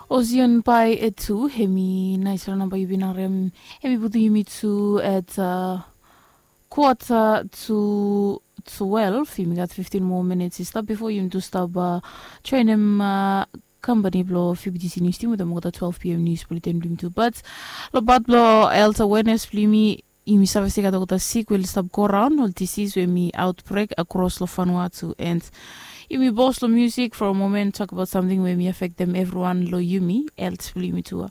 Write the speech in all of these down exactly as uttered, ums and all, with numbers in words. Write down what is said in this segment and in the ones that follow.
Ocean bai e tu hemi naisfala namba yu bin harem. Hemi putum yumi tu at uh, quarter to twelve. Yumi gat fifteen more minutes i stap before yumi tu stap uh, joinim uh, company blo fbtc news team wetem olgeta twelve pm news bulletin blo yumi tu, but lo bat blo health awareness blo yumi, yumi save se i gat olgeta sik we oli stap go raun, ol disease we mi outbreak across lo Vanuatu, and yumi bos lo music for a moment, talk about something we mi affectem everyone lo yumi, health blo yumi tu.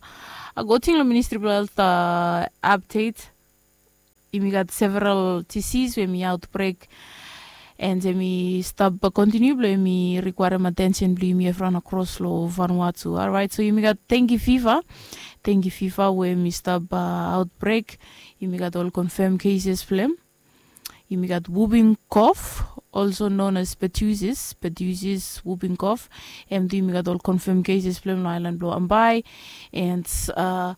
A go ting lo ministry blo health uh, update. Yumi gat several disease we mi outbreak, and yumi stap kontiniu blo yumi requirem attention blo yumi everyone across lo Vanuatu. Alright, so yumi gat dengue fever. Dengue fever we mi stap uh, outbreak. Yumi gat ol confirm cases blo em. Yumi gat whooping cough, also known as pertussis, pertussis whooping cough. Em tu yumi gat ol confirm cases blo em lo island blo Ambae. And uh,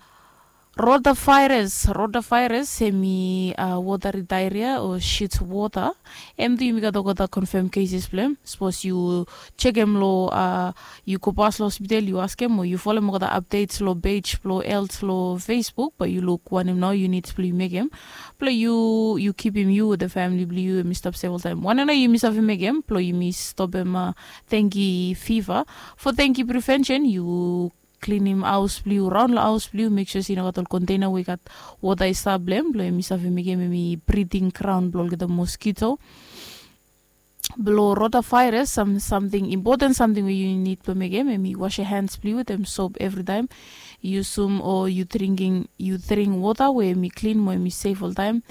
rotavirus, rotavirus hemi uh, watery diarrhea o shit water. Em tu yumi gat olgeta confirm cases blo em. Sapos yu jekem lo uh, yu go pas lo hospital yu askem o yu folem olgeta updates lo page blo health lo Facebook, bae yu luk wanem nao units blo yu mekem blo yu yu kipim yu wetem famili blo yu hemi stap sef oltaem. Wanem nao yumi save mekem blo yumi stopem uh, dengue fever. For dengue prevention yu klinim haos blo yu, raon lo haos blo yu, mek sua se i no gat ol container we i gat wota i stap lo em, blo yumi save mekem hemi breeding ground blo olgeta mosquito. Blo rotavirus, sam samting impoten samting we yu nid blo mekem hemi wash yu hands blo yu wetem sop evritaem. Yusum o yu drinking yu dring wota we hemi klin mo hemi sef oltaem.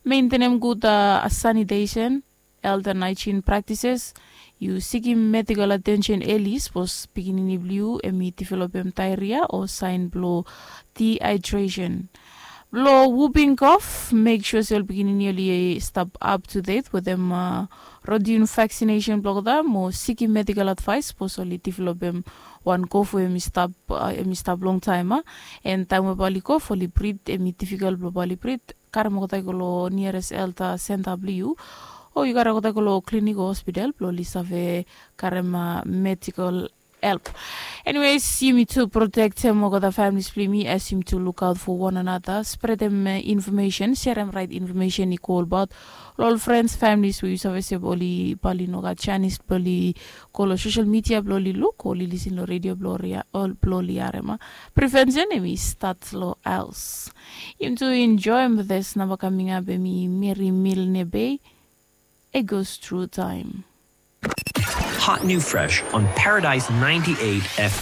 Mentenem gud uh, sanitation, health and hygiene practices. Yu sikim medical attention eli sapos pikinini blo yu hemi developem diarrhea o saen blo dehydration. Blo whooping cough, mek sua se ol pikinini oli stap up to date wetem uh, routine vaccination blo olgeta mo sikim medical advice sapos oli developem wan cough we hemi stap uh, hemi stap longtaem a. And taem we bae oli cough oli brit hemi difficult blo bae oli brit, karem olgeta i go lo nearest health uh, center blo yu. O yu karem olgeta i go lo clinic o hospital blo oli save karem uh, medical help. Anyways, yumi tu protektem olgeta families blo yumi as yumi tu luk aot fo wan anata, spretem uh, information, serem rait information i go olbaot lo ol friends, families we yu save se bae oli bae oli no gat janis blo oli go lo social media blo oli luk o oli lisin lo redio blo oli harem a. Prevention hemi stat lo haos. Yumi tu enjoem this namba kaming ap hemi Meri Milne Bay. It goes through time. Hot new fresh on Paradise ninety-eight F M.